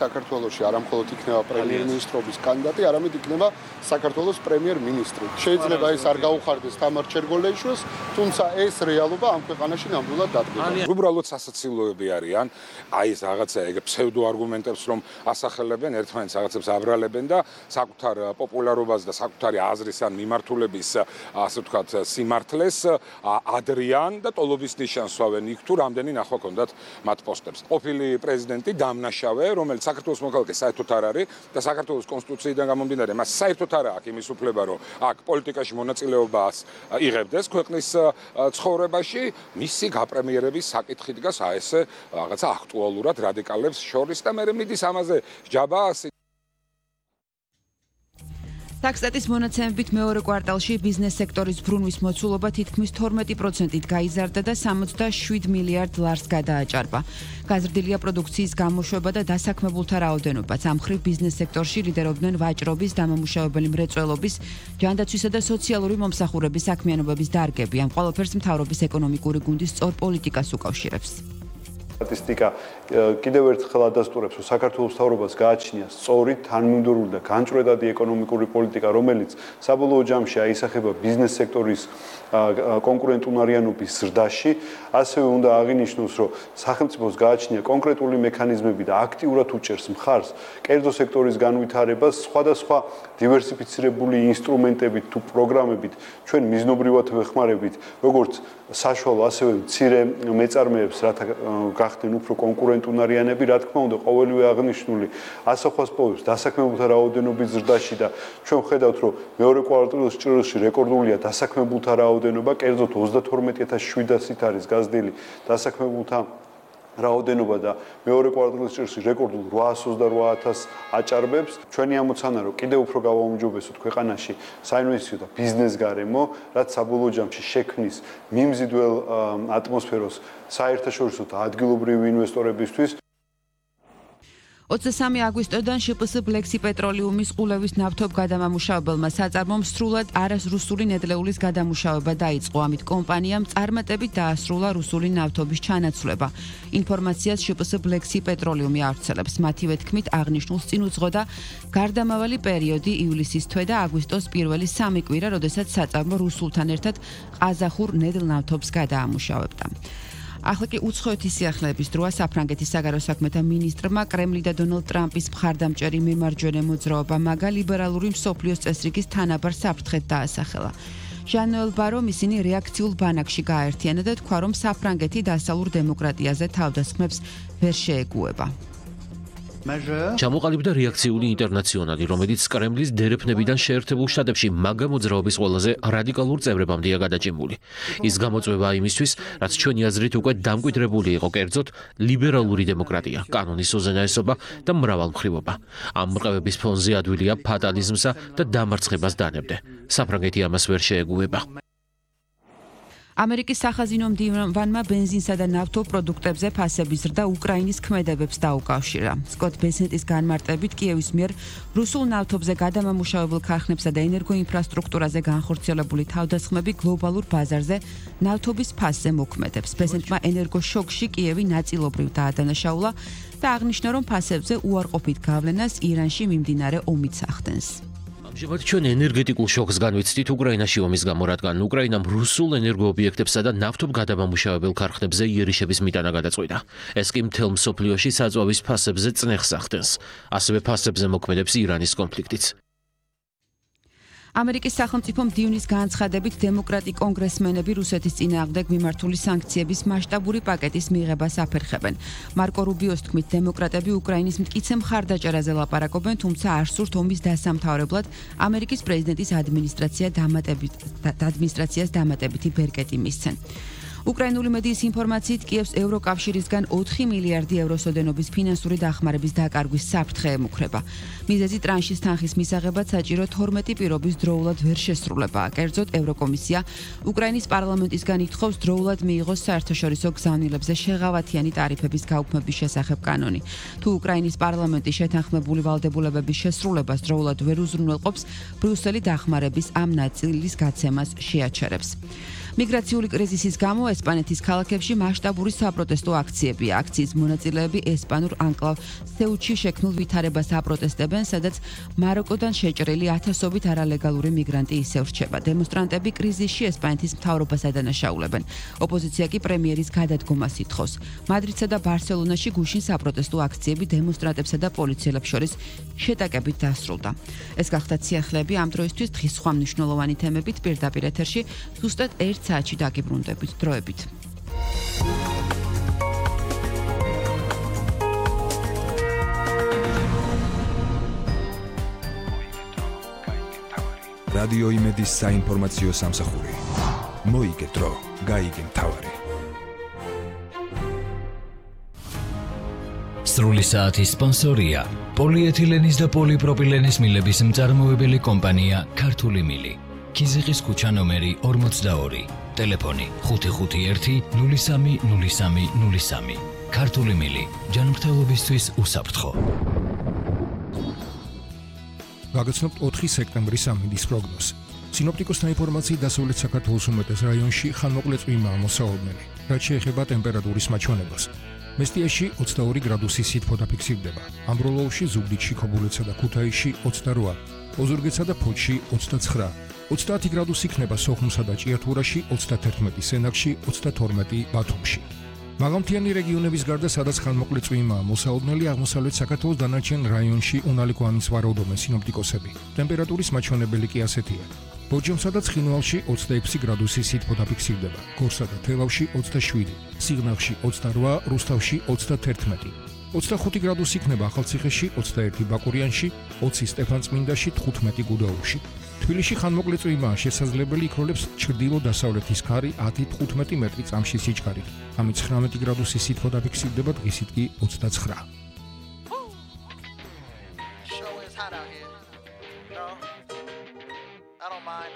საქართველოში არა მხოლოდ იქნება პრემიერ-მინისტრობის კანდიდატი, არამედ იქნება საქართველოს პრემიერ-მინისტრი. შეიძლება ეს არ გაუხარდეს თამარ ჩერგოლეიშვილს, თუმცა ეს რეალობა ამ ქვეყანაში ნამდვილად დადგება. უბრალოდ სასაცილოები არიან, აი ეს რაღაცა ეგ ფსევდო არგუმენტებს რომ ასახელებენ, ერთმანეთს რაღაცებს აბრალებენ და საკუთარ პოპულარობას და საკუთარი აზრის ან მიმართულების, ასე ვთქვათ, სიმართლეს ადრიან და ტოლობის ნიშანს სვავენ იქ თუ რამდენი ნახვა ჰქონდათ მათ პოსტებს. ყოფილი პრეზიდენტი დამნაშავე, რომელიც საქართველოს მოქალაქე საერთოდ არ არის და საქართველოს კონსტიტუციიდან გამომდინარე, მას საერთოდ არ აქვს იმის უფლება, რომ აქ პოლიტიკაში მონაწილეობას იღებდეს ქვეყნის ცხოვრებაში, მისი გაპრემიერების საკითხი დგას აი ესე რაღაცა აქტუალურად რადიკალებს შორის და მე მიდის ამაზე ჯაბა ტაქსტატის მონაცემებით მეორე კვარტალში ბიზნეს სექტორის ბრუნვის მოცულობა თითქმის 12%-ით გაიზარდა და 67 მილიარდ ლარს გადააჭარბა. გაზრდილია პროდუქციის გამოშვება და დასაქმებულთა რაოდენობაც. ამ მხრივ ბიზნეს სექტორში ლიდერობდნენ ვაჭრობის, დამამუშავებელი მრეწველობის, ჯანდაცვისა და სოციალური მომსახურების საქმიანობების დარგები. ამ ყველაფერს მთავრობის ეკონომიკური გუნდის სწორ პოლიტიკას უკავშირებს. სტატისტიკა კიდევ ერთხელ ადასტურებს, რომ საქართველოს მთავრობას გააჩნია სწორი, თანმიმდევრული და განჭვრეტადი ეკონომიკური პოლიტიკა, რომელიც საბოლოო ჯამში აისახება ბიზნეს სექტორის კონკურენტუნარიანობის ზრდაში. ასევე უნდა აღინიშნოს, რომ სახელმწიფოს გააჩნია კონკრეტული მექანიზმები და აქტიურად უჭერს მხარს კერძო სექტორის განვითარებას სხვადასხვა დივერსიფიცირებული ინსტრუმენტებით თუ პროგრამებით, ჩვენ მიზნობრივად ვეხმარებით, როგორც საშუალო, ასევე მცირე მეწარმეებს, რათა გახდნენ უფრო კონკურენტუნარიანები, რა თქმა უნდა, ყოველივე აღნიშნული ასახვას პოვებს დასაქმებულთა რაოდენობის ზრდაში და ჩვენ ხედავთ, რომ მეორე კვარტალის ჭრილში რეკორდულია დასაქმებულთა რაოდენობა, კერძოდ 32700-ით არის გაზრდილი დასაქმებულთა რაოდენობა და მეორე კვარტალის ჭრილში რეკორდულ 828,000 აჭარბებს. ჩვენი ამოცანა, რომ კიდევ უფრო გავაუმჯობესოთ ქვეყანაში საინვესტიციო და ბიზნეს გარემო, რაც საბოლოო ჯამში შექმნის მიმზიდველ ატმოსფეროს საერთაშორისო და ადგილობრივი ინვესტორებისთვის. 23 აგვისტოდან შპს ბლექსი პეტროლიუმის ყულევის ნავთობ გადამამუშავებელმა საწარმომ სრულად არასრუსული ნედლეულის გადამუშავება დაიწყო. ამით კომპანიამ წარმატებით დაასრულა რუსული ნავთობის ჩანაცვლება. ინფორმაციას შპს ბლექსი პეტროლიუმი ავრცელებს. მათივე თქმით, აღნიშნულს წინ უძღოდა გარდამავალი პერიოდი ივლისის თვე და აგვისტოს პირველი 3 კვირა, როდესაც საწარმო რუსულთან ერთად ყაზახურ ნედლ ნავთობს გადაამუშავებდა. ახლა კი უცხოეთის სიახლეების დროა. საფრანგეთის საგარეო საქმეთა მინისტრმა კრემლი და დონალდ ტრამპის მხარდამჭერი მემარჯვენე მოძრაობა მაგა ლიბერალური მსოფლიოს წესრიგის თანაბარ საფრთხედ დაასახელა. ჟან-ნოელ ბარომ ისინი რეაქციულ ბანაკში გააერთიანა და თქვა, რომ საფრანგეთი დასავლურ დემოკრატიაზე თავდასხმებს ვერ შეეგუება. ჩამოყალიბდა რეაქციული ინტერნაციონალი, რომელიც კრემლის დერეფნებიდან შეერთებულ შტატებში მაგა მოძრაობის ყველაზე რადიკალურ წევრებამდეა გადაჭიმული. ის გამოწვევა იმისთვის, რაც ჩვენი აზრით უკვე დამკვიდრებული იყო, კერძოდ ლიბერალური დემოკრატია, კანონის უზენაესობა და მრავალმხრივობა. ამ მრყევების ფონზე ადვილია ფატალიზმსა და დამარცხებას დანებდე. საფრანგეთი ამას ვერ შეეგუება. ამერიკის სახაზინო მდივანმა ბენზინსა და ნავთობპროდუქტებზე ფასების ზრდა უკრაინის ქმედებებს დაუკავშირა. სკოტ ბესენტის განმარტებით კიევის მიერ რუსულ ნავთობზე გადამამუშავებელ ქარხნებსა და ენერგოინფრასტრუქტურაზე განხორციელებული თავდასხმები გლობალურ ბაზარზე ნავთობის ფასზე მოქმედებს. ბესენტმა ენერგოშოკში კიევი ნაწილობრივ დაადანაშაულა და აღნიშნა, რომ ფასებზე უარყოფით გავლენას ირანში მიმდინარე ომიც ახდენს. ამჟამად ჩვენ ენერგეტიკულ შოკს განვიცდით უკრაინაში ომის გამო, რადგან უკრაინამ რუსულ ენერგოობიექტებსა და ნავთობ გადამამუშავებელ ქარხნებზე იერიშების მიტანა გადაწყვიტა. ეს კი მთელ მსოფლიოში საწვავის ფასებზე წნეხს ახდენს. ასევე ფასებზე მოქმედებს ირანის კონფლიქტიც. ამერიკის სახელმწიფო მდივნის განცხადებით დემოკრატი კონგრესმენები რუსეთის წინააღმდეგ მიმართული სანქციების მასშტაბური პაკეტის მიღებას აფერხებენ. მარკო რუბიოს თქმით, დემოკრატები უკრაინის მტკიცე მხარდაჭერაზე ლაპარაკობენ, თუმცა არ სურთ ომის დასამთავრებლად ამერიკის პრეზიდენტის ადმინისტრაციას დამატებითი ბერკეტი მისცენ. უკრაინული მედიის ინფორმაციით კიევს ევროკავშირისგან 4 მილიარდი ევროს ოდენობის ფინანსური დახმარების დაკარგვის საფრთხე ემუქრება. მიზეზი ტრანშის თანხის მისაღებად საჭირო 12 პირობის დროულად ვერ შესრულებაა. კერძოდ ევროკომისია უკრაინის პარლამენტისგან ითხოვს დროულად მიიღოს საერთაშორისო გზავნილებზე შეღავათიანი ტარიფების გაუქმების შესახებ კანონი. თუ უკრაინის პარლამენტი შეთანხმებული ვალდებულებების შესრულებას დროულად ვერ უზრუნველყოფს, ბრიუსელი დახმარების ამ ნაწილის გაცემას შეაჩერებს. მიგრაციული კრიზისის გამო ესპანეთის ქალაქებში მასშტაბური საპროტესტო აქციებია. აქციის მონაწილეები ესპანურ ანკლავ სეუჩში შექმნილ ვითარებას აპროტესტებენ, სადაც მაროკოდან შეჭრილი ათასობით არალეგალური მიგრანტი ისევ რჩება. დემონსტრანტები კრიზისში ესპანეთის მთავრობას ადანაშაულებენ. ოპოზიცია კი პრემიერის გადადგომას ითხოვს. მადრიდსა და ბარსელონაში გუშინ საპროტესტო აქციები დემონსტრანტებსა და პოლიციელებს შორის შეტაკებით დასრულდა. ეს გახდა სიახლეები ამ დროისთვის. დღის სხვა მნიშვნელოვანი თემებით პირდაპირ ეთერში ზუსტად 1 საათში დაგიბრუნდებით. დროებით. რადიო იმედის საინფორმაციო სამსახური. მოიგე დრო, გაიგე მთავარი. სრული საათის სპონსორია პოლიეთილენის და პოლიპროპილენის მილების მწარმოებელი კომპანია ქართული მილი. ქიზიყის ქუჩა ნომერი 42. ტელეფონი 551 030303. ქართული მილი. ჯანმრთელობისთვის უსაფრთხო. გაგაცნობთ 4 სექტემბრის ამინდის პროგნოზი. სინოპტიკოსთა ინფორმაციით დასავლეთ საქართველოს უმეტეს რაიონში ხანმოკლე წვიმაა მოსავალმელი, რაც შეეხება ტემპერატურის მაჩვენებას. მესტიაში 22 გრადუსი სითბო დაფიქსირდება, ამბროლოუში, ზუგდიდში, ქობულეთსა და ქუთაისში 28, ოზურგეთსა და ფოთში 29, 30 გრადუსი იქნება სოხუმსა და ჭიათურაში, 31 სენაკში, 32 ბათუმში. მაღალმთიანი რეგიონების გარდა, სადაც ხანმოკლე წვიმაა მოსავალმელი, აღმოსავლეთ საქართველოს დანარჩენ რაიონში უნალიკო ამის ვარაუდობენ სინოპტიკოსები. ტემპერატურის მაჩვენებელი კი ასეთია. ბორჯომსა და ცხინვალში 26 გრადუსი სითბო დაფიქსირდება, გორსა და თელავში 27, სიღნაღში 28, რუსთავში 31, 25 გრადუსი იქნება ახალციხეში, 21 ბაკურიანში, 20 სტეფანწმინდაში, 15 გუდაუთში. თბილისში ხანმოკლე წვიმაა შესაძლებელი, იქროლებს ჩრდილო-დასავლეთის ქარი 10-15 მეტრი წამში სიჩქარით. ამით 19 გრადუსი სითბო დაფიქსირდება, დღისით კი 29. I don't mind